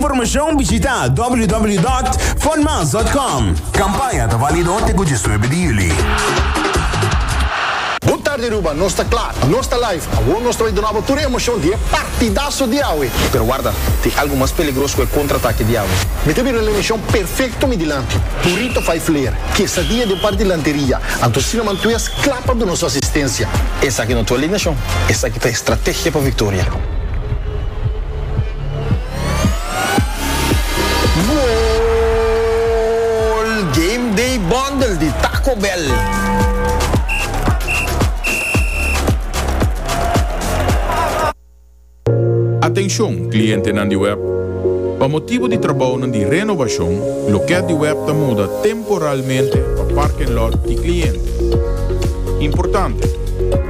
Informashon bishita www.funmas.com. Kampaña ta válido te ku diesnuebe di yüli. Bon tardi Aruba, nos ta kla, nos ta live, awor nos ta bai duna bo tur e emocion di e partidazo di awe. Pero warda, tin algu mas peligroso ku e kontratake di awe. Mi ta bira un emocion perfecto mi dilanti, burrito five layer, quesadilla den parti lanteria, anto cinnamon twist kla pa duna su asistencia. Esaki no ta un alineacion, esaki ta e strategia pa victoria. Gol! Game Day Bundle di Taco Bell. Atenshon klientenan di web! Pa motibu di trabounan di renovashon, lokèt di web ta muda temporalmente pa parkenlot di kliente. Importante!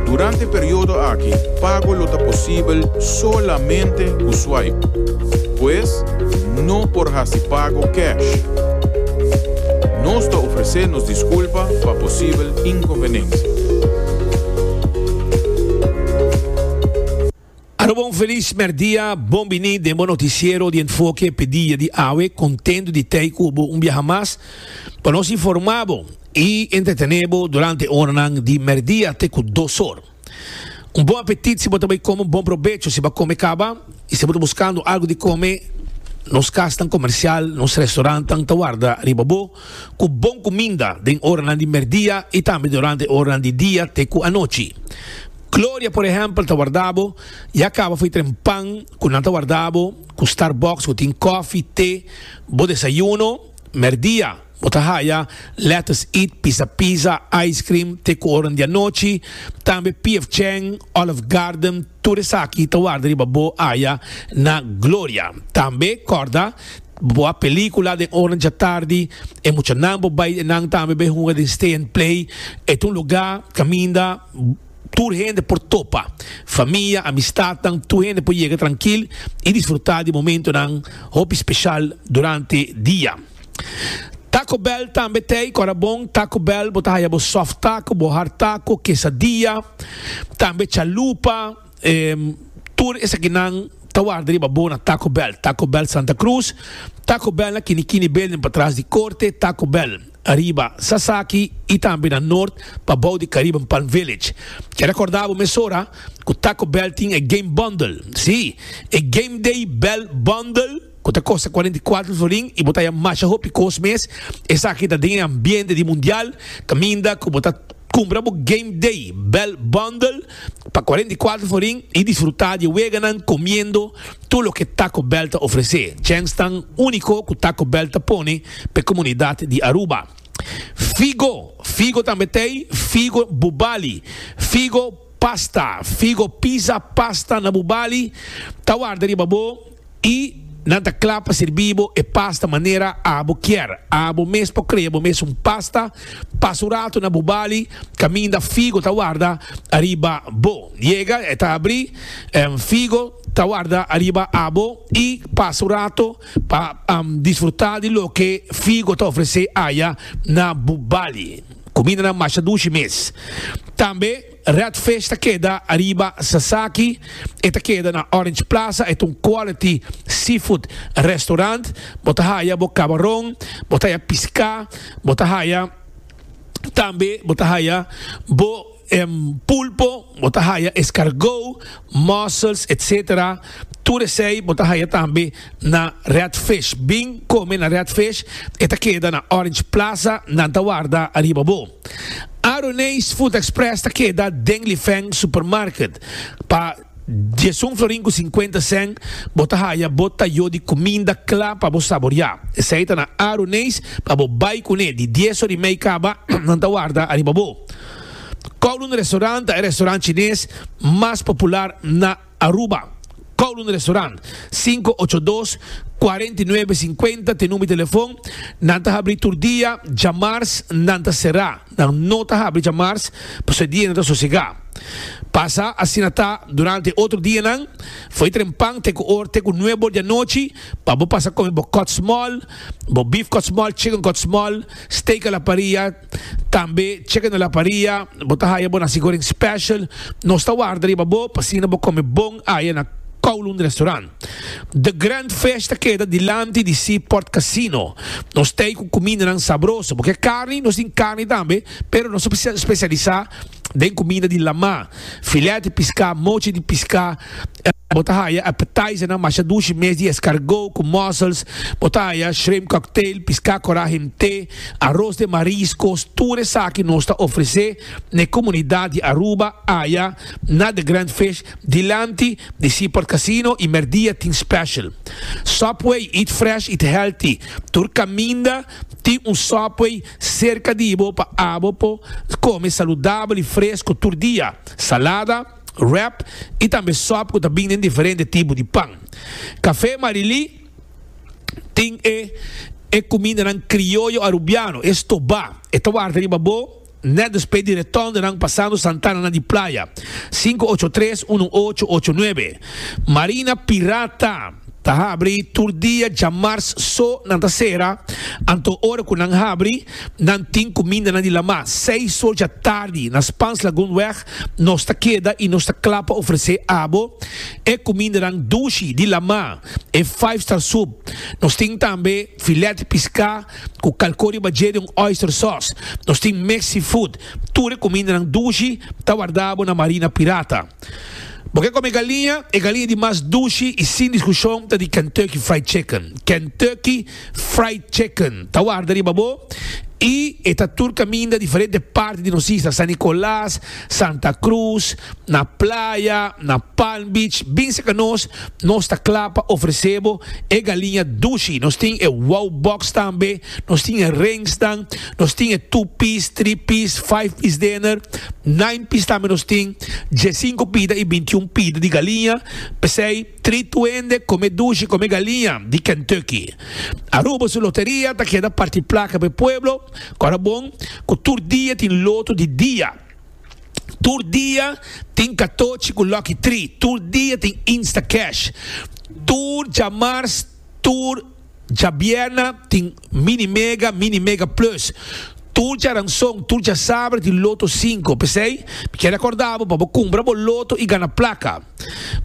Durante e periodo aki pago lo ta posibel solamente ku swipe. Pues, no por hasi pago cash. Nos ta ofresé nos diskulpa pa posibel inkonvenensia. Aruba un felis merdia, bon bini den bo noticiero di Enfoke p'e dia di awe, contento di tei cu bo un biaha mas pa nos informa bo y entretene bo durante oranan di merdia te cu dos or. Un bon apetit si bo ta bay come, un bon probecho si bo a come caba y si bo ta buscando algo di come, nos casnan comercial, nos restaurantnan ta warda riba bo cu bon cuminda den oranan di merdia y tambe durante oranan di dia te cu anochi. Gloria por ehempel ta warda bo, ya caba fo'i tren pan cu nan ta warda bo cu Starbucks cu tin koffie, te, bo desayuno, merdia bo ta haya Let Us Eat, Pizza Pizza, ice cream te cu oran di anochi, tambe PF Chang, Olive Garden, tur esaki ta warda riba bo aya na Gloria. Tambe corda bo a pelicula den oran djatardi, e muchanan bo bay nan tambe bay hunga den Stay and Play, e ta un lugar caminda. Tur hende por topa. Famia, amistadnan, tur hende por yega trankil i disfrutá di momentonan hopi speshal durante dia. Taco Bell tambe t'ei, kòrda bon, Taco Bell bo ta haya bo soft taco, bo hard taco, quesadilla, tambe chalupa, tur esakinan ta warda riba bo na Taco Bell. Taco Bell Santa Cruz, Taco Bell na Kinikini Building patras di Korte, Taco Bell. Ariba Sasaki y tambe na Noord pa bou di Caribbean Palm Village. Kier recorda bo mesora cu Taco Bell tin e Game Bundle. Si, e Game Day Bell Bundle cu ta costa 44 florin y bo ta haya masha hopi cos mes. Esaki ta den e ambiente di Mundial caminda cu bo ta cumpra bo Game Day Bell Bundle pa 44 florin y disfruta di e weganan comiendo tur loke Taco Bell ta ofrece. Chensnan unico cu Taco Bell ta pone p'e comunidad di Aruba. Figo, figo tambe t'ey, figo Bubali, figo pasta, figo pizza pasta na Bubali ta warda riba bo y nan ta cla pa sirbi bo e pasta manera abo kier. Abo mes por crea bo mes un pasta, pasa un rato na Bubali caminda figo ta warda ariba bo. Yega e ta abri, figo ta warda ariba abo y pasa un rato. Pa disfrutá di loke Figo ta ofresé aya na Bubali. Kumindanan masha dushi mes. Tambe Red Fish ta keda ariba Sasaki. E ta keda na Orange Plaza. E ta un quality seafood restaurant. Bo ta haya bo kabaron, bo ta haya piská, bo ta haya tambe bo ta haya bo. Pulpo, bo ta haya escargot, mussels, etc. Tur esey bo ta haya tambe na Red Fish. Bin come na Red Fish, e ta keda na Orange Plaza, nan ta warda ariba bo. Aroneis Food Express ta keda den Lifeng Supermarket. Pa diesun florin ku sinkuenta sèn bo ta haya bo tayo di kuminda kla pa bo saboriá. Esei ta na Aruneis pa bo bai kuné di dies ora i mei kaba nan ta warda ariba bo. Kowloon Restaurant ta e restaurant chines mas popular na Aruba. Kowloon Restaurant, 582 49 50 t'e number di telefon. Nan ta habri tur dia, djamars nan ta será. Nan no ta habri djamars pasobra e dia nan ta sosegá. Pasa asina ta durante otro dianan, fo'i trempan te ku or te ku nuebe or di anochi pa bo pasa kome bo cut small, bo beef cut small, chicken cut small, steak a la parilla, tambe chicken a la parilla, bo ta haya bo nasi goreng special. Nos ta warda riba bo pa asina bo kome bon aya na. Kowloon Restaurant. The Grand Fish ta keda dilanti di Seaport Casino. Nos tei ku kumindanan sabroso. Bo ke karni? Nos tin karni tambe, pero nos ta spesialisá den kuminda di lamá. Filet di piská, mochi di piská. Bo ta haya appetizernan masha dushi mes di escargot ku mussels. Bo ta haya shrimp cocktail, piská korá hemté, aros de mariscos. Tur esaki nos ta ofresé na e komunidat di Aruba aya na The Grand Fish dilanti di Seaport Casino y merdia tin special. Subway, eat fresh, eat healthy. Tur caminda tin un Subway cerca di bo pa abo por come saludabel y fresco tur dia. Salada. wrap y tambe sop cu ta bin den diferente tipo di pan. Café Marily tin e e cumindanan crioyo Arubiano, e stobá. E ta warda riba bo net despues di retondenan pasando Santana di Playa. Sinku ocho tres, unu ocho ocho nuebe. Marina Pirata ta habri tur dia djamars so nan ta sera, anto ora cu nan habri nan tin cumindanan di lamá seis or djatardi na Spaans Lagoonweg. Nos ta keda y nos ta kla pa ofrece abo e cumindanan dushi di lamá, e five star soup. Nos tin tambe filet di pisca cu calco riba dje den un oyster sauce. Nos tin mixed seafood. Tur e cumindanan dushi ta warda bo na Marina Pirata. Bo ke come galiña? E galiña di mas dushi y sin discusion ta di Kentucky Fried Chicken. Kentucky Fried Chicken ta warda riba bo y e ta tur caminda diferente parti di nos isla, San Nicolas, Santa Cruz, na playa, na Palm Beach. Bin cerca nos, nos ta cla pa ofrece bo e galiña dushi. Nos tin e wow box tambe, nos tin e ringsnan, nos tin e two piece, three piece, five piece dinner, nine piece tambe nos tin, diescinco pida y bintiun pida di galiña. P'esey. Tritu hende come dushi come galiña di Kentucky. Aruba su loteria ta keda parti placa pa e pueblo. Cora bon cu tur dia tin loto di dia. Tur dia tin catochi cu lucky tree. Tur dia tin instacash. Tur djamars tur. Djabièrna tin Mini Mega, Mini Mega Plus. Tur djaranson, tur djasabra tin Loto sinku. P'esei, mi kier rekordá bo pa bo kumpra bo loto i gana plaka.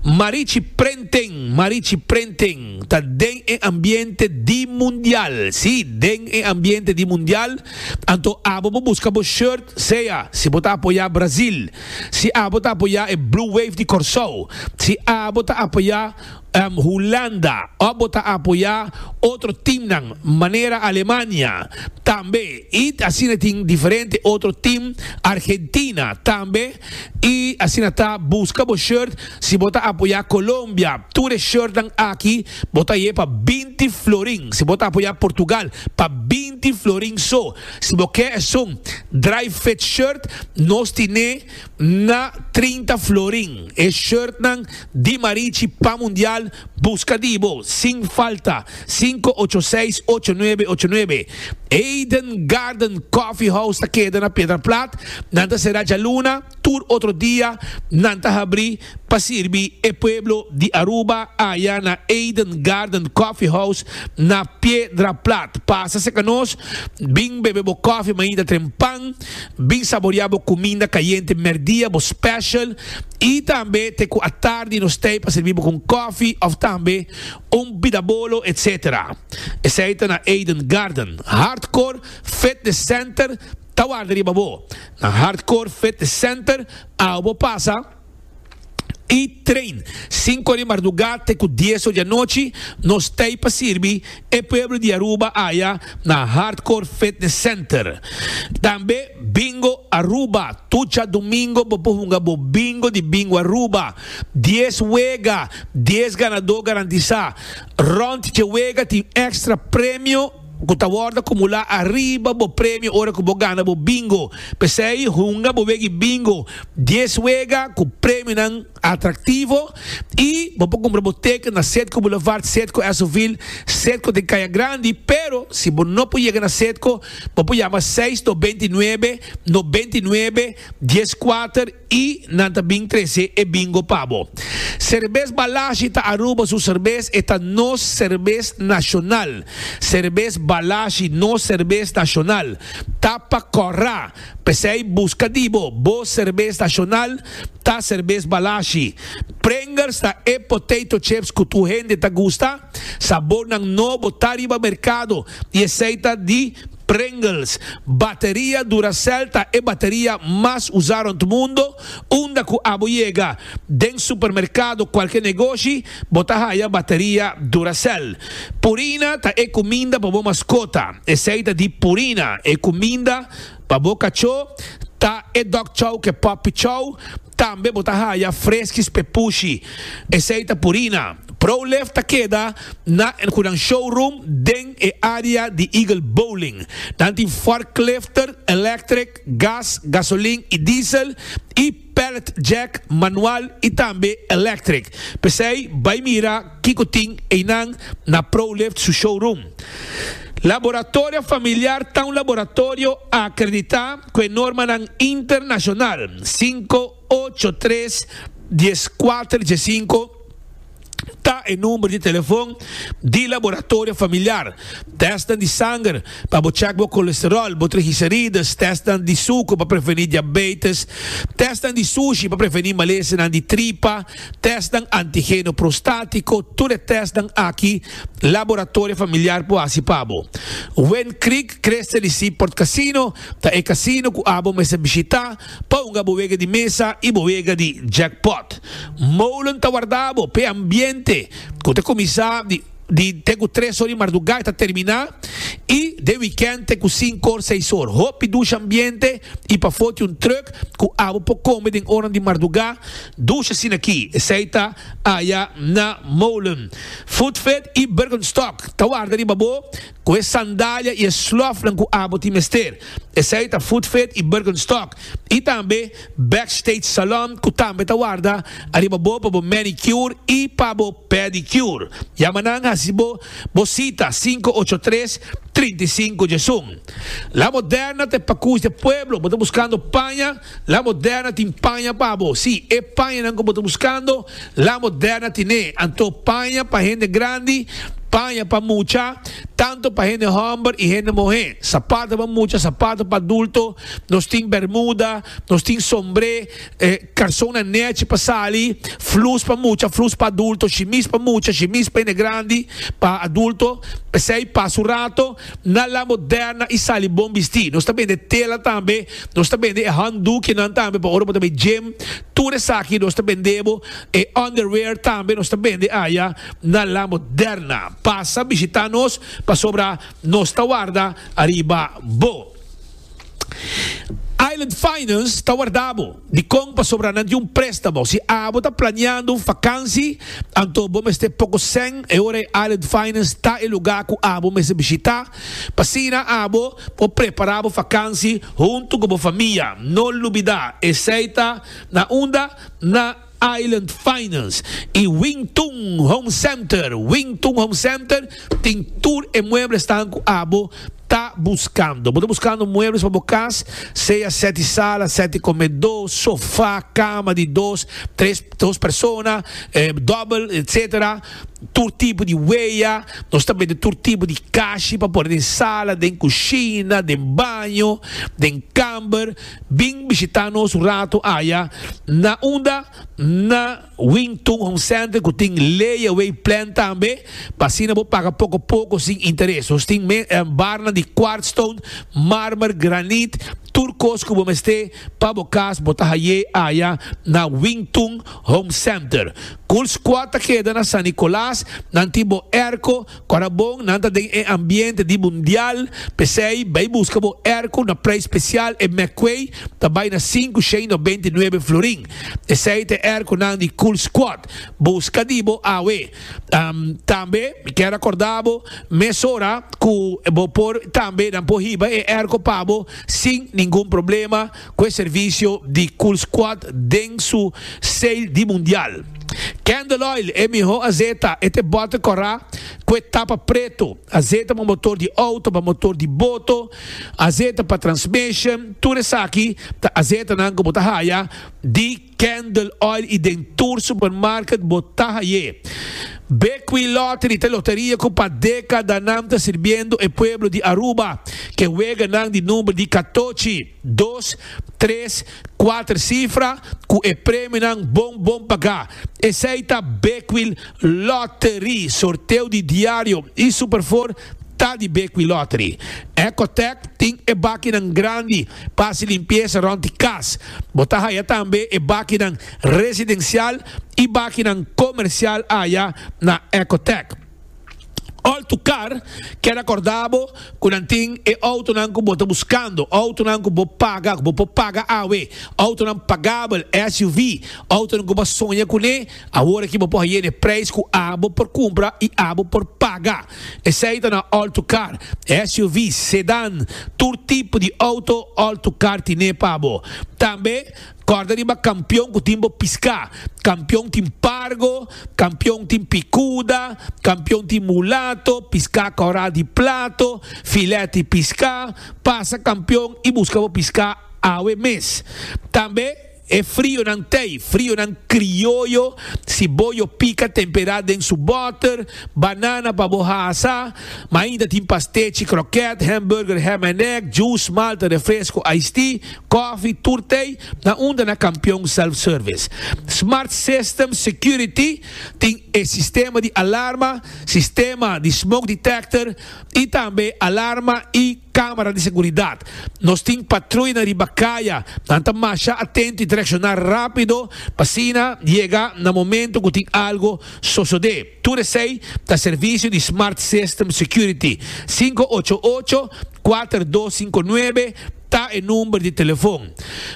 Marichi Printing, Marichi Printing ta den e ambiente di Mundial. Sí, den e ambiente di Mundial. Anto abo bo buska bo shirt, sea si bo ta apoyá Brazil, si abo ta apoyá e Blue Wave di Kòrsou, si abo ta apoyá. Hulanda of bo ta apoya otro teamnan manera Alemania tambe y asina tin diferente otro team Argentina tambe y asina ta busca bo shirt si bo ta apoya Colombia tur e shirtnan aki bo ta haye pa binti florin si bo ta apoya Portugal pa binti florin so si bo ke esun dry fit shirt nos tine na 30 florin e shirtnan Di Marichi pa Mundial busca di bo sin falta cinco ocho seis ocho nuebe ocho nuebe Eden Garden Coffee House ta keda na Piedra Plat nan ta sera djaluna tur otro dia nan ta habri pa sirbi e pueblo di Aruba aya na Eden Garden Coffee House na Piedra Plat pasa seca nos bin bebe bo coffee mainta trempan bin saboria bo cuminda cayente merdia bo special I tambe te ku atardi nos tei pa sirbi bo ku un kòfi òf tambe un bidabolo etc. Esei ta na Eden Garden. Hardcore Fitness Center ta warda riba bo. Na Hardcore Fitness Center awo bo pasa i train. Sinku ora di mardugá te ku dies ora di anochi nos tei pa sirbi e pueblo di Aruba aya na Hardcore Fitness Center. Tambe Bingo Aruba, Tur djadumingo bo por hunga bo bingo di Bingo Aruba. Dies wega, dies ganadó garantisá. Rònt dje wega tin èkstra premio ku ta wòrdu akumulá ariba bo premio ora ku bo gana bo bingo. P'esei hunga bo wega di bingo dies wega ku premionan atraktivo i bo por kumpra bo teken na Setco Boulevard, Setco Esoville. Setco den Kaya Grandi, pero si bo no por yega na Setco, bo por yama seis 99 99 14 y nan ta bin trece e bingo pa bo. Cerbes Balashi ta Aruba su cerbes, e ta nos cerbes nacional. Cerbes Balashi, nos cerbes nacional. Ta pa cora. P'esey busca di bo, bo cerbes nacional ta Cerbes Balashi. Pringles ta e potato chips cu tur hende ta gusta. Sabornan nobo ta riba mercado y esey ta di Pringles. Bateria Duracell ta e bateria mas usa rond mundo. Unda cu abo yega, den supermercado, cualke negoshi, bo ta haya bateria Duracell. Purina ta e cuminda pa bo mascota. Esey ta di Purina. E cuminda pa bo cachó ta e dog chow cu e puppy chow. Tambe bo ta haya Friskies p'e pushi. Esey ta Purina. Prolift ta keda na cu nan showroom den e area di Eagle Bowling. Nan tin forklifter electric, gas, gasolin y diesel y pallet jack manual y tambe electric. P'esey bay mira kico tin eynan na Prolift su showroom. Laboratorio Familiar ta un laboratorio acredita cu e normanan internacional 583 14 15. Ta e number di telefon di Laboratorio Familiar. Testnan di sanger pa bo check bo colesterol, bo triglicerides, testnan di suco pa preveni diabetes, testnan di sushi pa preveni malesanan di tripa, testnan antigeno prostatico, tur e testnan aki Laboratorio Familiar por haci pa bo. Wind Creek Crystal y Seaport Casino ta e casino cu abo mester bishita. Pa hunga bo wega di mesa i bo wega di jackpot. Molen ta warda bo p'e ambiente ku ta kuminsá di di te ku tres or di mardugá i ta terminá i den wikènt te ku sinku or seis or. Hopi dushi ambiente i pafó tin un trùk ku abo por kome den oran di mardugá dushi asina aki. Esei ta aya na Molen. Foodfit i Birkenstock ta warda riba bo ku e sandalia i e slòfnan ku abo tin mester. Esei ta Footfit i Birkenstock i tambe Backstage Salon ku tambe ta warda ariba bo pa bo manicure i pa bo pedicure. Yama nan hasi bo bo sita 583 35 11. La Moderna ta e pakus di e pueblo. Bo ta buskando paña? La Moderna tin paña pa bo. Sí, e pañanan ku bo ta buskando, La Moderna tine. Anto paña pa hende grandi, paña pa mucha, tanto pa hende hòmber i hende muhé. Sapato pa mucha, sapato pa adulto, nos tin bermuda, nos tin sombré, karsonnan nèchi pa sali, flus pa mucha, flus pa adulto, shimis pa mucha, shimis pa hende grandi, pa adulto. P'esei pasa un rato na La Moderna i sali bon bistí. Nos ta bende tela tambe, nos ta bende e handdoekjenan tambe pa ora bo ta bai gym. Tur esaki nos ta bende bo. E underwear tambe nos ta bende aya na La Moderna. Pasa bishita nos pasobra nos ta warda ariba bo. Island Finance ta warda bo. Dikon? Pasobra nan tin un préstamo. Si abo ta planeando un fakansi, anto bo mester poko sèn, e ora e Island Finance ta e lugá ku abo mester bishitá pa asina abo por prepará bo fakansi huntu ku bo famia. No lubidá, esei ta na unda? Na Island Finance y Wing Tun Home Center. Wing Tun Home Center tin tur e mueblesnan cu abo ta buscando. Bo ta buscando muebles pa bo cas, sea set di sala, set di comedor, sofa, cama di dos, tres, dos persona, dobel, etc. Tur tipo di weya. Nos ta bende tur tipo di kashi pa pone den sala, den cushina, den baño, den camber. Bin bishita nos un rato aya na unda na Wing Tun Home Center cu tin layaway plan tambe pa asina bo paga poco poco sin interes. Nos tin barnan di quartzstone, marmer, granit, tur cos cu bo mester pa bo cas bo ta haye aya na Wing Tun Home Center. Cool Squad ta keda na San Nicolas, nan tin bo airco. Ora bon nan ta den e ambiente di mundial, p'esei bai buska bo airco na prijs special e McQuay ta bai na 599 florin. Esei ta e airconan di Cool Squad. Buska di bo awe. Tambe mi kier acorda bo mesora cu bo por tambe nan por hiba e airco pa bo sin ningun problema cu e servicio di Cool Squad den su sale di mundial. Candle Oil, e mihó azeta, e ta e bòter kòrá ku e tapa pretu. Azeta pa motor di outo, pa motor di boto, azeta pa transmission, tur esaki ta azetanan ku bo ta haya di Candle Oil i den tur supermarket bo ta hay'é. Bequi Lottery ta e loteria ku pa dekadanan ta sirbiendo e pueblo di Aruba ke weganan di number di katochi, dos, tres, kuater sifra ku e premionan bon bon pagá. Esei ta Bequi Lottery. Sorteo di diario i Superfour ta di Bequi Lottery. Ecotec tin e bakinan grandi pa hasi limpiesa rond di kas. Bo ta haya tambe e bakinan residensial i bakinan komersial aya na Ecotec. All to Car kier acorda bo cu nan tin e autonan cu bo ta buscando, autonan cu bo paga, cu bo por paga awe, autonan pagabel, SUV, autonan cu bo a soña cune, awor aki bo por haye n'e prijs cu abo por cumpra y abo por paga. Esey ta na All to Car, SUV, sedan, tur tipo di auto All to Car tine pa bo. Tambe. Kòrda riba kampion ku tin bo piská. Kampion tin pargo, kampion tin pikuda, kampion tin mulato, piská kòrá di plato, filèt di piská. Pasa kampion i buska bo piská awe mes. Tambe e frionan tei, frionan krioyo, siboyo pika temperá den su bòter, banana pa bo hasa. Ma ainda tin pastechi, krokèt, hamburger, ham and egg, juice, malta, refresco, iced tea. Coffee tur tey na unda na Campeon Self Service. Smart System Security tin e sistema di alarma, sistema di smoke detector y tambe alarma y camara di seguridad. Nos tin patruyanan riba caya, nan ta masha atento y ta reacciona rapido pa asina yega na momento cu tin algo sosode. Tur esey ta servicio di Smart System Security. 588 4259 ta e number di telefon.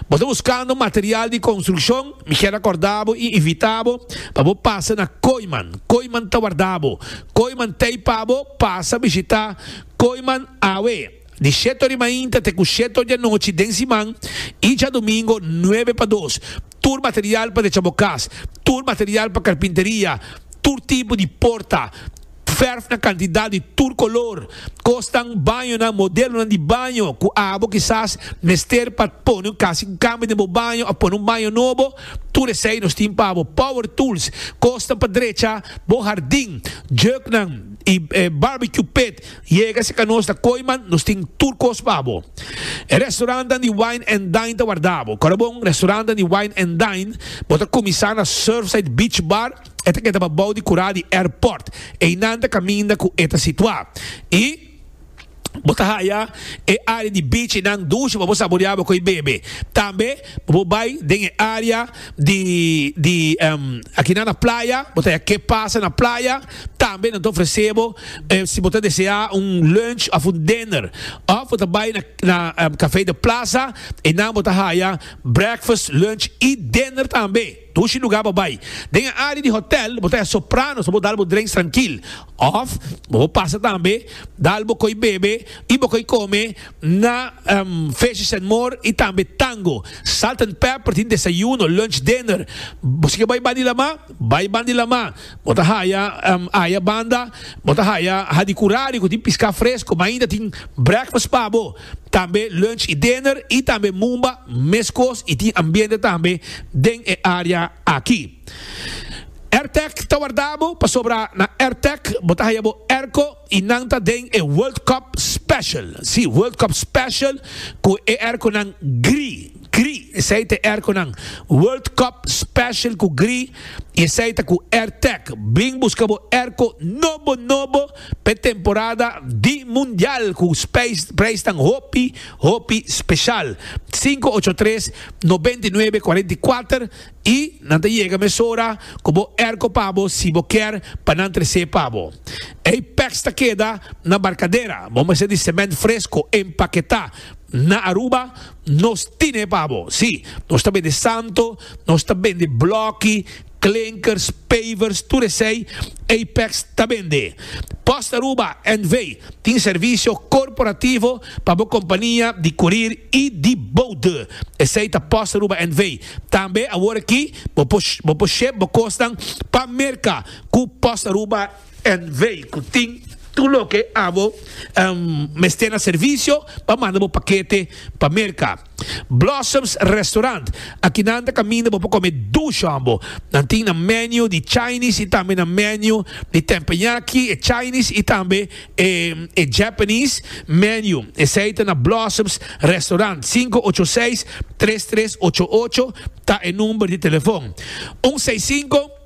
Bo ta buscando material di construccion? Mi kier acorda bo y invita bo pa bo pasa na Kooyman. Kooyman ta warda bo. Kooyman t'ey pa bo pasa bishita Kooyman awe. Di shete ora di mainta te ku shete ora di anochi den siman i djadumingo nuebe pa dos. Tur material pa drecha bo kas, tur material pa karpinteria, tur tipo di porta, fèrf na kantidat di tur kolor, kosnan, bañonan, modelonan di baño ku abo kisas mester pa pone un kasi un kambio den bo baño òf pone un baño nobo, tur esei nos tin pa bo. Power tools, kosnan pa drecha bo hardin, jùknan i barbecue pit. Yega si ka nos ta Kooiman, nos tin tur kos pa bo. E restaurantnan di Wine and Dine ta warda bo. Kòrda bon, restaurantnan di Wine and Dine, bo ta kuminsá na Surfside Beach Bar, e ta keda pa bou di kurá di airport. Einan ta kaminda ku e ta situá. I bo ta haya e área di beach einan dushi pa bo saboreá bo koi bebe. Tambe bo por bai den e área di di akinan na playa, bo ta haya ke pasa na playa. Tambe nan ta ofresé bo si bo ta deseá un lunch òf un dinner. Òf bo ta bai na na Café de Plaza, einan bo ta haya breakfast, lunch i dinner tambe. Dushi lugá pa bai. Den e área di hotèl bo ta haya Sopranos pa bo dal bo drinks trankil. Òf bo por pasa tambe dal bo koi bebe i bo koi kome na Fishes and More i tambe Tango. Salt and Pepper tin desayuno, lunch, dinner. Bo si ke bai banda di lamá? Bai banda di lamá. Bo ta haya aya banda, bo ta haya Hadicurari ku tin piská fresko, ma ainda tin breakfast pa bo, tambe lunch i dinner i tambe mumba meskos i tin ambiente tambe den e área aki. Airtec ta warda bo pasobra na Airtec bo ta haya bo airco i nan ta den e World Cup Special. Sí, World Cup Special ku e airconan gri. Gri, esei ta e airconan World Cup Special ku gri i esei ta ku Airtec. Bin buska bo airco nobo nobo p'e temporada di Mundial ku prijsnan hopi hopi special. 583 99 44 i nan ta yega mesora ku bo airco pa bo si bo kier pa nan tres'é pa bo. Apex ta keda na Barcadera. Bo mester di cement fresco empaketá. Na Aruba nos tine pa bo. Sí, nos ta bende santo, nos ta bende bloki, Klinkers, pavers, tur esei Apex ta bende. Post Aruba NV tin servisio korporativo pa bo kompania di kurir i di bode. Esei ta Post Aruba NV. Tambe awor aki bo por bo por ship bo kosnan pa Merka ku Post Aruba NV ku tin tur loke abo mester na servisio pa manda bo pakete pa Merka. Blossoms Restaurant, Akinan ta kaminda bo por kome dushi hombo. Nan tin nan menu di Chinese i tambe nan menu di teppanyaki, e Chinese i tambe e e Japanese menu. Esei ta na Blossoms Restaurant. 586 3388 ta e number di telefon. Un seis sinku.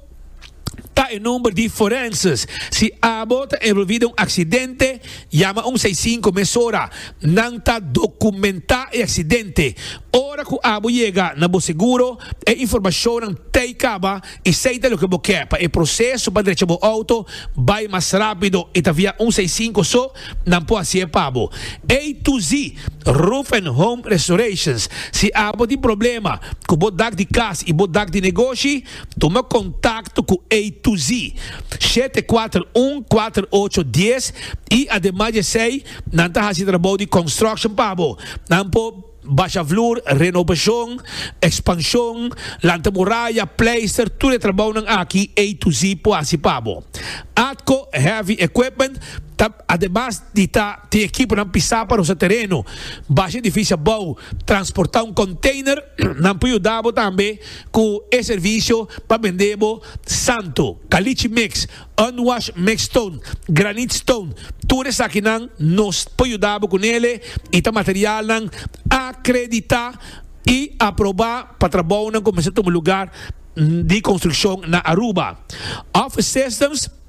Ta e number di forenses. Si abo ta envolvi den un accidente, yama un seis sinku mesora. Nan ta documenta e accidente. Ora cu abo yega na bo seguro, e informacionnan t'ey caba y sey ta loke bo ke pa e proceso pa drecha bo auto bay mas rapido y ta via un seis sinku so nan por haci'e pa bo. A to Z Roof and Home Restorations. Si abo tin problema cu bo dak di cas y bo dak di negoshi, Tuma kontakto ku A to Z, 741 48 10 i ademas di esei nan ta hasi trabou di construction pa bo. Nan por basha vloer, renobashon, ekspanshon, lanta muraya, pleister, tur e trabounan aki A to Z por hasi pa bo. Atco Heavy Equipment ta ademas di ta tin ekiponan pisá pa rosa tereno, basha edifisio abou, transportá un container, nan por yuda bo tambe Ku e servisio pa bende bo santo, caliche mix, unwash mix stone, granite stone, tur esakinan nos por yuda bo ku nele i ta materialnan akreditá i aprobá pa trabounan ku mester tuma lugar di konstrukshon na Aruba. Office Systems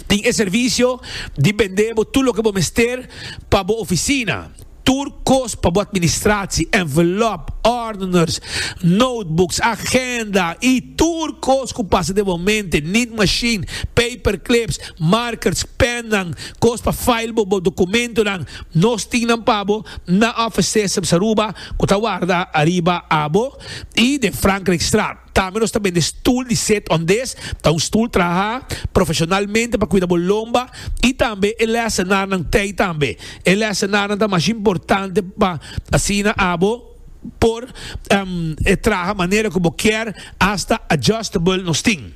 tin e servisio di bende bo tur loke bo mester pa bo ofisina. Tur kos pa bo administratie, envelop, ordeners, notebooks, agenda y tur kos ku pasa den bo mente, nit machine, paper clips, markers, pennan, kos pa file bo bo dokumentonan, nos tin nan pa bo na Office Systems Aruba ku ta warda ariba abo y den Frankrijkstraat. Tambe nos ta bende stoel di sit on this, ta un stoel traha profesionalmente pa cuida bo lomba y tambe e lesenarnan tey tambe. E lesenarnan ta masha importante pa asina abo por traha manera cu bo kier, hasta adjustable nos tin.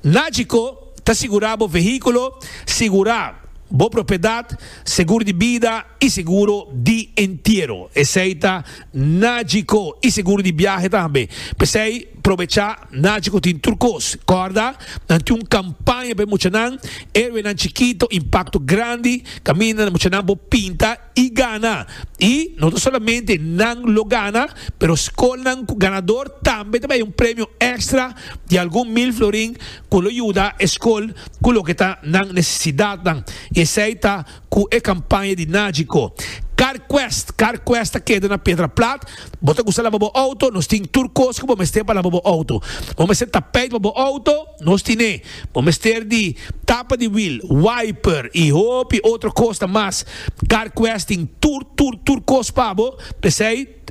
Nagico ta sigura bo vehiculo, sigura bo propiedad, seguro di bida y seguro di entiero. Esey ta Nagico y seguro di biahe tambe. P'esey probecha Nagico tin tur cos. Corda, nan tin un campaña pa e muchanan, Héroenan Chikito, Impacto Grandi, caminda muchanan por pinta y gana. Y no ta solamente nan lo gana, pero scolnan cu ganador tambe ta bay un premio extra di algun mil florin cu lo yuda e scol cu loke ta nan necesidadnan. Y esey ta Ku e kampaña di Nagico. CarQuest, CarQuest ta keda na Piedra Plat. Bo ta gusta laba bo outo? Nos tin tur kos ku bo mester pa laba bo outo. Bo mester tapijt pa bo outo? Nos tin'é. Bo mester di tapa di wiel, wiper i hopi otro kos ta mas. CarQuest tin tur, tur, tur kos pa bo. P'esei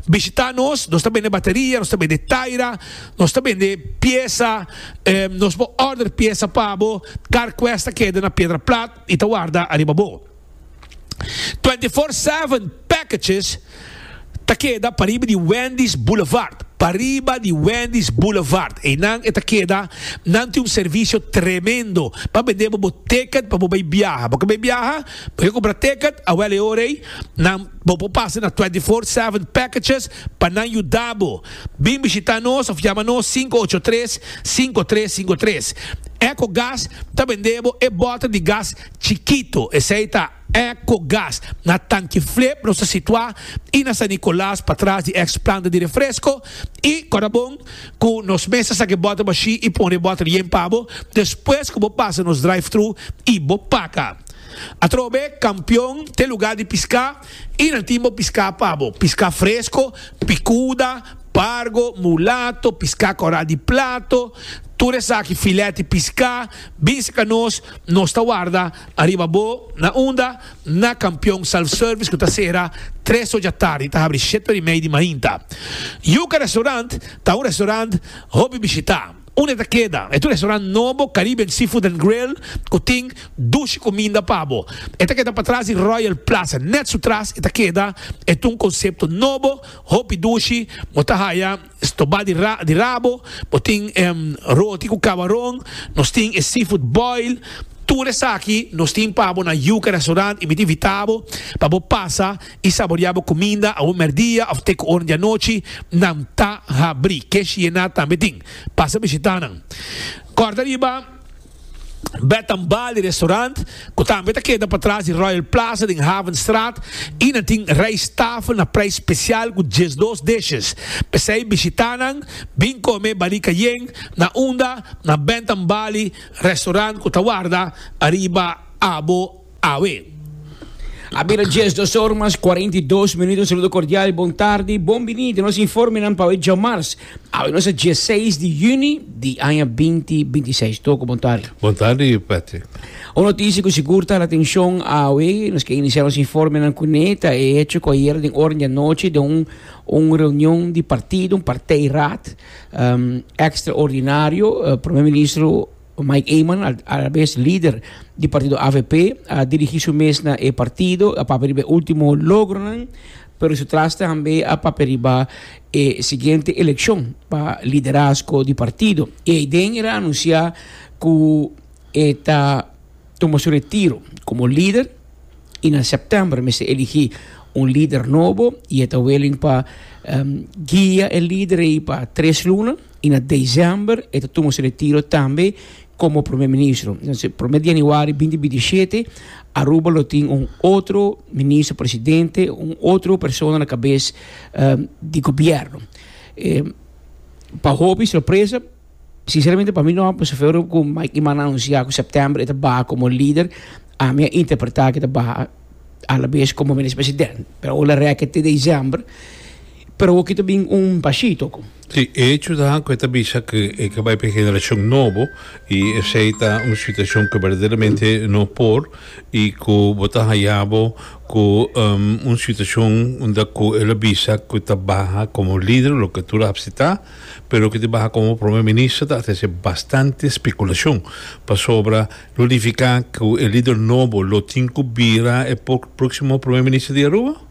bishita nos. Nos ta bende bateria, nos ta bende taira, nos ta bende piesa. Nos por order piesa pa bo. CarQuest ta keda na Piedra Plat. I ta warda ariba bo. 24/7 Packages ta keda pariba di Wendy's Boulevard. Pariba di Wendy's Boulevard. Einan e ta keda. Nan tin un servisio tremendo pa bende bo bo ticket pa bo bai biaha. Bo ke bai biaha? Bo ke kumpra ticket? Awel e ora ei nan bo por pasa na 24/7 Packages pa nan yuda bo. Bin bishita nos of yama nos 583 5353. Ecogas ta bende bo e bòter di gas chikito. Esei ta Ecogas. Na Tanki Flip nos ta situá i na San Nicolas patras di ex planta di refresco. I kòrda bon ku nos mes ta saka e bòter bashí i pone e bòter yen pa bo despues ku bo pasa nos drive-thru i bo paka. Atrobe Kampion t'e lugá di piská i nan tin bo piská pa bo. Piská fresko, pikuda, pargo, mulato, piská kòrá di plato. Tur esaki filet di piská, bin saka nos, nos ta warda ariba bo na unda? Na Kampion Self Service ku ta sera tres or djatardi ta habri shete or i mei di mainta. Yuca Restaurant ta un restaurant hopi bishitá. Unda e ta keda? E ta un restaurant nobo, Caribbean Seafood and Grill, ku tin dushi kuminda pa bo. E ta keda patras di Royal Plaza, nèt su tras e ta keda. E ta un konsepto nobo, hopi dushi, bo ta haya. Stobá di ra di rabo, bo tin roti ku kabaron, nos tin e seafood boil, tur esaki nos tin pa bo na Yuca Restaurant i mi ta invitá bo pa bo pasa i saboriá bo kuminda awe mèrdia òf te ku ora di anochi, nan ta habrí. Keshi yená tambe tin. Pasa bishitá nan. Kòrda riba. Bed and Bali Restaurant, cu tambe ta keda patras di Royal Plaza den Havenstraat y nan tin rijsttafel na prijs special cu 12 dishes. P'esey bishita nan, bin come barika yen na unda na Bed and Bali Restaurant cu ta warda ariba abo awe. A bira 12 or mas 42 minuut. Un saludo cordial, bon tardi, bon bini den nos informenan pa awe djamars. Awe nos ta 16 di juni di aña 2026. Toko, bon tardi. Bon tardi, Patrick. Un noticia cu sigur ta hala atencion awe, nos ke inicia nos informenan cune, ta e hecho cu ayer den ora di anochi den un un reunion di partido, un partijraad um, extraordinario, Prome Ministro Mike Eman, alabes lider di partido avp, a dirigi su mes na e partido, a papia riba e ultimo logronan, pero su tras tambe a papia riba e siguiente eleccion pa liderazgo di partido. Y eyden el a anuncia cu e ta tuma su retiro como lider y na september mester eligi un lider nobo y e ta willing pa guia e lider ey pa tres luna. Y na december e ta tuma su retiro tambe como Prome Ministro. Entonces, prome di januari binti binti i shete, Aruba lo tin un otro Ministro Presidente, un otro persona na cabes di gobierno. Pa hopi sorpresa, sinceramente pa mi no, pasobra cu Mike Eman a anuncia cu september e ta baha como lider, ami a interpreta cu e ta baha alabes como Ministro Presidente. Pero ora reke te december, pero awor ki ta bin un bashito. Sí, e hecho ta cu e ta bisa cu e ke bai pa e generacion nobo y esey ta un situacion cu berdaderamente no por y cu bo ta haya bo cu un situacion unda cu el a bisa cu ta baha como lider loke tur a acepta pero cu ta baha como prome minister ta trece bastante speculacion pasobra lo nifica cu e lider nobo lo tin cu bira e proximo prome minister di Aruba?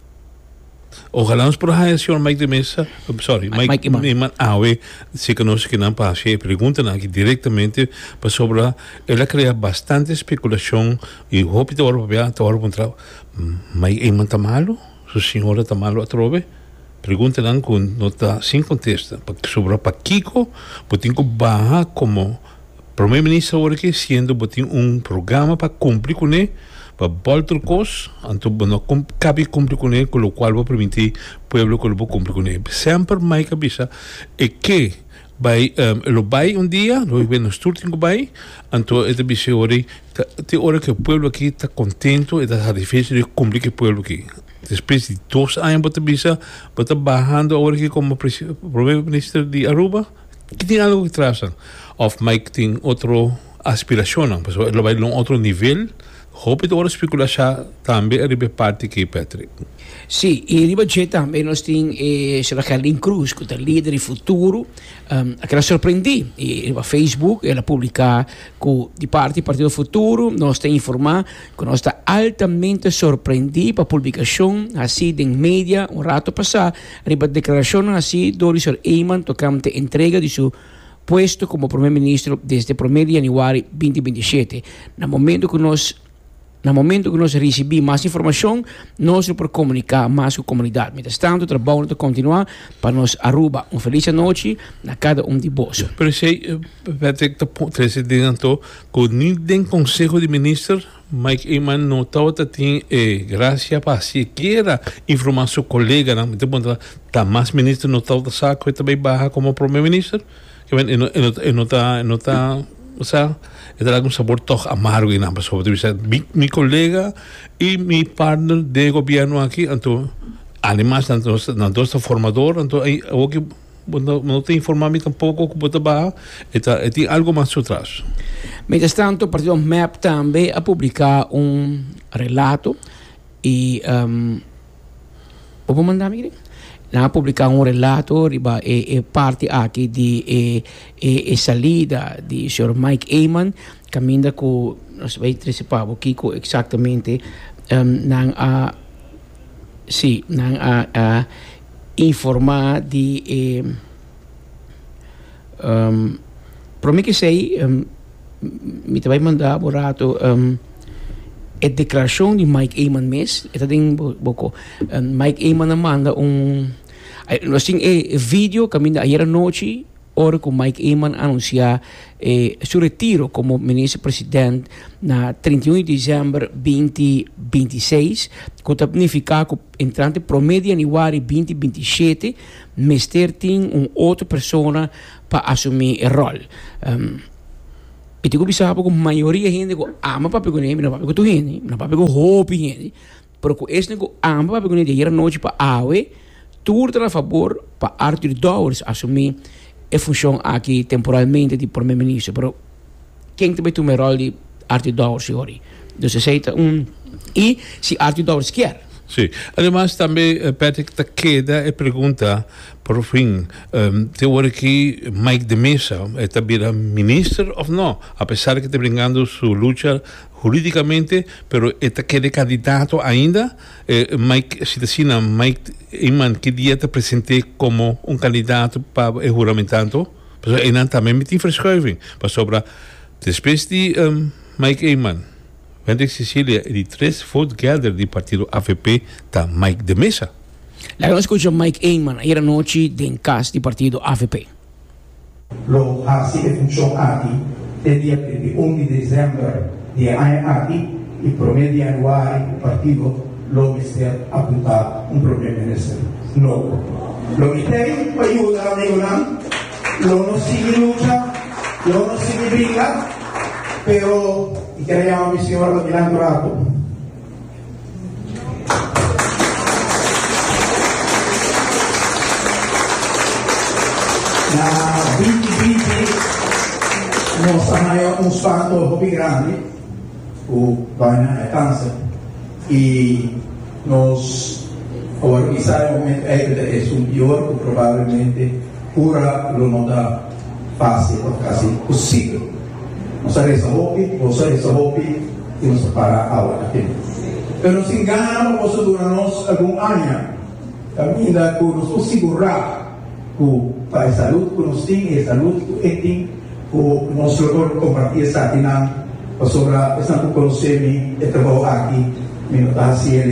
Ojalá nos por haya señor Mike de Meza, sorry, Mike, Mike Eman. Eman awe, si que nos kinan pa haci e preguntanan aki directamente, pasobra el a crea bastante speculacion y hopi ta worde papia, ta worde puntra, Mike Eman ta malo? Su señora ta malo atrobe? Preguntanan cu no ta sin contesta, pasobra pakico bo tin cu baha como Prome Minister awor aki siendo bo tin un programa pa cumpli cune, pa bolter cos, anto bo no cabi cumpli cune cu locual bo a permiti pueblo cu lo bo cumpli cune. Semper Mike a bisa e ke bay e lo bay un dia, lo bay nos tur tin cu bay, anto e ta bisa awor te ora cu e pueblo aki ta contento e ta satisfecho di cumpli cu e pueblo aki. Despues di dos aña bo ta bisa bo ta bahando awor aki como Prome Minister di Aruba. Ki tin algo ki trasan? Of Mike tin otro aspiracionnan? Pasobra e lo bai na un otro nivel. Hopi ta ora speculasha tambe ariba e parti aki, Patrick. Sí, y riba dje tambe nos tin e señora Gerlin Cruz cu ta lider di Futuro. A keda sorprendí y riba Facebook el a publica cu di parti Partido Futuro nos ta informa cu nos ta altamente sorprendí pa publicacion haci den media un rato pasa Riba declaracionnan haci door di Sir Eman tocante entrega di su puesto como Prome Ministro desde prome di januari binti binti shete. Na momento cu nos na momento cu nos ricibi mas informacion, nos lo por comunica mas cu comunidad. Mientras tanto, trabounan ta continua pa nos Aruba. Un feliz anochi na cada un di boso. Pero esey, Patrick, ta trece den anto cu ni den Conseho di Minister Mike Eman no tabata tin e gracia pa sikiera informa su coleganan. Mi ta puntra, ta mas minister no tabata sa cu e ta bay baha como prome minister? Ke men, e no, e no, e no ta, e no ta, sa, e ta laga un sabor toch amargo einan, pasobra ta bisa mi, mi colega y mi partner den e gobierno aki, anto ademas nan dos, nan dos ta formador, anto awor ki. Bo no ta informa mi tampoco cu bo ta baha. E ta e tin algo mas su tras. Mientras tanto, partido mep tambe a publica un relato y bo por manda mi? Nan a publica un relato riba e e parti aki di e e e salida di señor Mike Eman caminda cu nos bay trece pa bo kico exactamente nan a si nan a a informa di e Prome ku esei mi ta bai manda bo rato e deklarashon di Mike Eman mes, e ta den bo ko. Mike Eman a manda un, nos tin e video kaminda ayer anochi ora ku Mike Eman a anunsia su retiro komo minister president na 31 di desèmber binti 26, ku ta nifiká ku entrante prome di yanüari binti 27 Mester tin un otro persona pa asumí e ròl. Mi tin ku bisa bo ku mayoria hende ku ama papia kuné, mi no papia ku tur hende, mi no papia ku hopi hende, pero ku esnan ku ama papia kuné di ayer anochi pa awe, tur ta na fabor pa Arthur Dowers asumí e funshon aki temporalmente di prome minister. Pero ken ta bai tuma e ròl di Arthur Dowers yori? Dus esei ta un i si Arthur Dowers kier. Sí. Ademas tambe Patrick ta keda e pregunta por fin te ora ki Mike de Meza e ta bira minister of no? A pesar ke ta bringando su lucha huridicamente pero e ta keda candidato ainda? Mike si ta asina Mike Eman ki dia ta presente como un candidato pa e huramentanto? Pasobra einan tambe mi tin verschuiving pasobra despues di Mike Eman, Wendrick Cecilia e di tres votegelder di partido avp ta Mike de Meza. Laga nos scucha Mike Eman ayer anochi den cas di partido avp. Lo hasi e funshon aki te dia 31 di desèmber di e aña aki i promé di yanüari ku partido lo mester apuntá un promé minister nobo. Lo mi tei pa yuda amigunan. Lo no sigui lucha, lo no sigui bringa, pero mi kier a yama mi señora pa dilanti un rato. Na 2020 nos a haya un spanto hopi grandi ku baina e kanser i nos a wòrdu bisa e momento ei ku ta esun pior ku probablemente Cura lo no ta fácil of casi posibel. Nos a reza hopi, boso a reza hopi y nos a para awe aki. Pero nos tin gana pa boso duna nos algun aña caminda cu nos por sigura cu pa e salud cu nos tin y e salud cu e tin cu nos lo por comparti esakinan pasobra esnan cu conoce mi e trabou aki mi no ta haci el